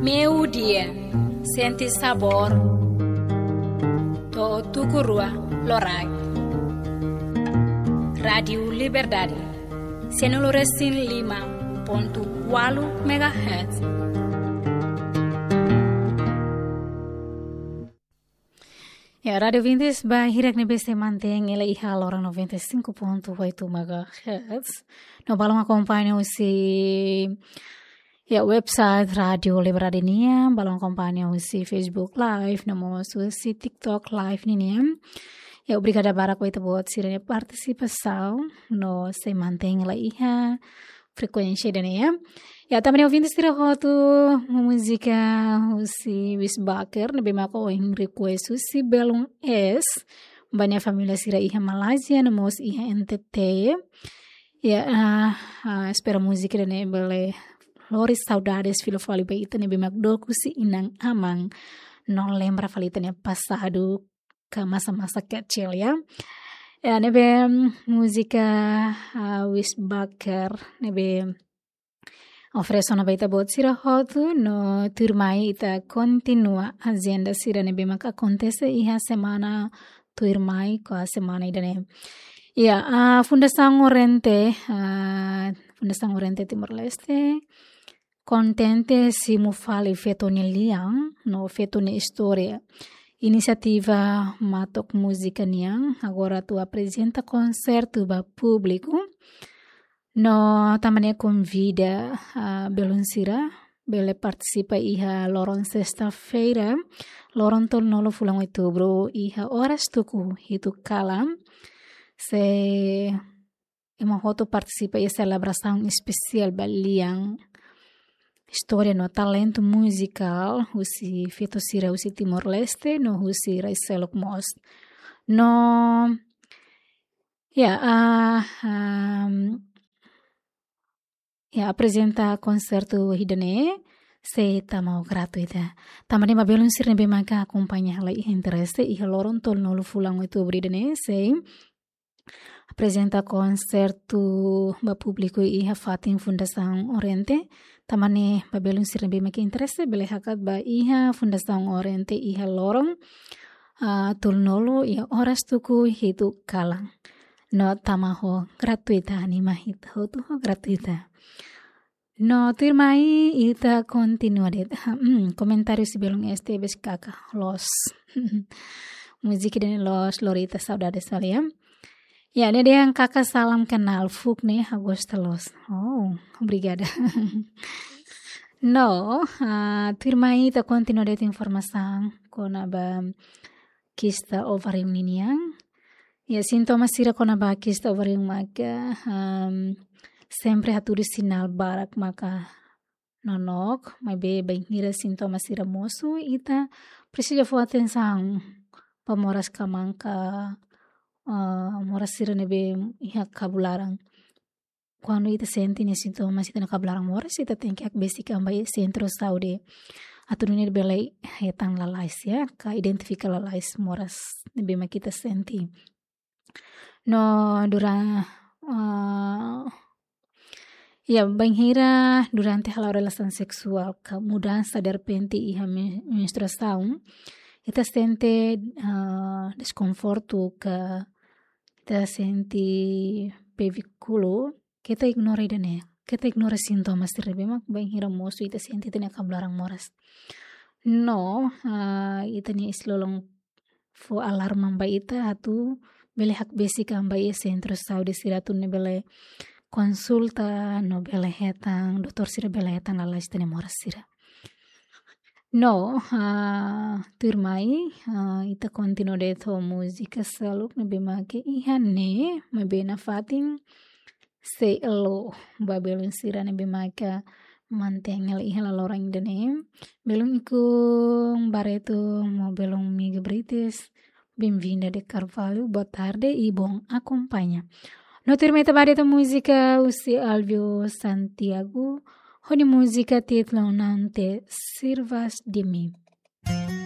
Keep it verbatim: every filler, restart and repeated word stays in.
Meio-dia, sente sabor. To'o tuku rua loraik. Rádio Liberdade, cento e cinco e cinco ponto quatro megahertz. Ya, rádio ouvintes, ba hirak ne'ebé sei mantein hela iha loron noventa e cinco ponto oito megahertz. No balun akompaña husi, ya, website Rádio Liberdade nian, balun akompaña husi Facebook Live, no mós husi TikTok Live ninian. Ya, obrigada barak ba ita-boot sira-nia partisipasaun, no sei mantein hela iha frekuénsia ida-ne'e, ya. Ya, tanba ne'e ouvinte sira hotu, múzika husi Wis Baker, ne'ebé maka ohin request husi belun eis, ba nia família sira iha Malázia, no mós iha N T T. Ya, ah, ah, espera múzika ida-ne'e bele lori saudades fila fali ba ita ne'ebé mak dook husi inan-aman, no lembra fali ita-nia pasadu ka masa-masa kecil, ya. Ya, ne'ebé, mm, múzika, ah, Wis Baker, ne'ebé oferese ona ba ita-boot sira hotu, no tuirmai ita kontinua ajenda sira ne'ebé maka akontese iha semana tuirmai ka semana ida-ne'e. Ya, ah, Fundasaun Oriente, ah, Fundasaun Oriente Timor-Leste, kontente simu fali feto nia lian, no feto nia istória. Inisiativa Matok Múzika nian, agora atu aprezenta konsertu ba públiku. No tanba ne'e konvida, ah, belun sira, bele partisipa iha loron sesta-feira, loron tolunulu fulan Outubru, iha oras tuku hitu kalan. Sei ema hotu partisipa iha selebrasaun espesiál ba lian, istória no talentu muzikál husi feto sira husi Timor-Leste, no husi rai seluk mós. No, ya, ah, am, ya, aprezenta konsertu ida-ne'e sei tama ho gratuita. Tanba ne'e ba belun sira ne'ebé maka akompaña hela iha interese iha loron tolunulu fulan Outubru ida-ne'e sei aprezenta konsertu ba públiku iha fatin Fundasaun Oriente. Tanba ne'e ba belun sira ne'ebé maka interese bele hakat ba iha Fundasaun Oriente iha loron, ah, tolunulu iha oras tuku hitu kalan. No tama ho gratuita, anima ita hotu ho gratuita. No tuirmai ita kontinua de'it. Hmm, komentáriu husi belun eis tebes kaka loos. Múzika ida-ne'e loos, lori ita saudades fali, ya. Ya, ne'e dehan kaka salam kenal, fuuk ne'e ha'u gosta loos. Oh, obrigada. No, ah, tuirmai ita kontinua de'it informasaun kona-ba kista ovarium ninian. Ya, sintoma sira kona-ba kista ovarium maka, am, sempre hatudu sinál barak maka nonook, maibé bainhira sintoma sira mosu, ita presiza fó atensaun ba moras ka mãe ka, ah, moras sira ne'ebé iha kabun laran. Kuandu ita sente nia sintoma sira iha kabun laran moras, ita tenke hakbesik an ba iha sentru saúde atu nune'e bele hetan lalais, ya, ka identifika lalais moras ne'ebé mak ita sente. No dura-, ah, ya, bainhira durante hala'o relasaun seksuál ka mudansa derrepente iha men-, menstruasaun, ita sente, ah, deskonfortu ka ita sente pevikulu, keta ignora ida-ne'e, keta ignora sintoma sira ne'ebé mak bainhira mosu ita sente ita-nia kabun laran moras. No, ah, ita-nia isin-lolon fó alarma ba ita atu bele hakbesik an ba iha sentru saúde sira atu nune'e bele konsulta no bele hetan, doutór sira bele hetan lalais ita-nia moras sira. No, ah, tuirmai, ah, ita kontinua de'it ho múzika seluk ne'ebé mak iha ne'e, maibé nafatin sei elo ba belun sira ne'ebé maka mantein hela iha laloran ida-ne'e. Belun Ikun Barreto, no belun Miga Brites, Bem-vinda de Carvalho, boa tarde e bom acompanha. No tuirmai ita ba de'it ho múzika husi Alvio Santiago, ho nia múzika títulu Não Te Sirvas de Mim.